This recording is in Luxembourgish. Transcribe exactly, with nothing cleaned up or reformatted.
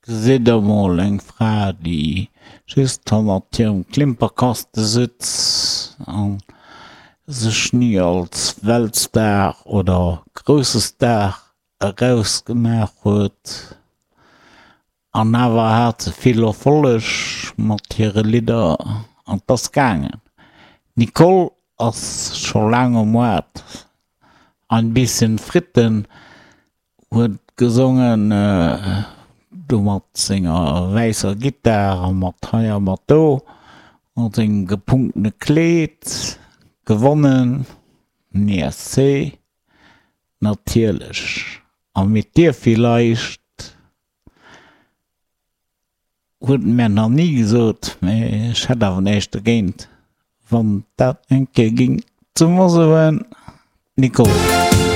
Gesitt der mol eng Fra, déi just hannert hirem Klimperkaste sëtz an sech ni als Weltstar oder grousse Star erausgemaach huet. An awer hat se vill Erfolleg mat hire Lidder an 't ass gaangen. D'Nicole ass scho laang um Moart. Ein bisschen Fritten huet gesongen, do mat senger wäisser Gittar a mat hei a mat do, mat sengem gepunktene Kleed. Gewonnen den E S C natierlech. A mit dir vielleicht huet en mär nach ni gesot, mee ech hätt awer näischt dogéint, wann dat eng Kéier ging ze mer soen. Nicole.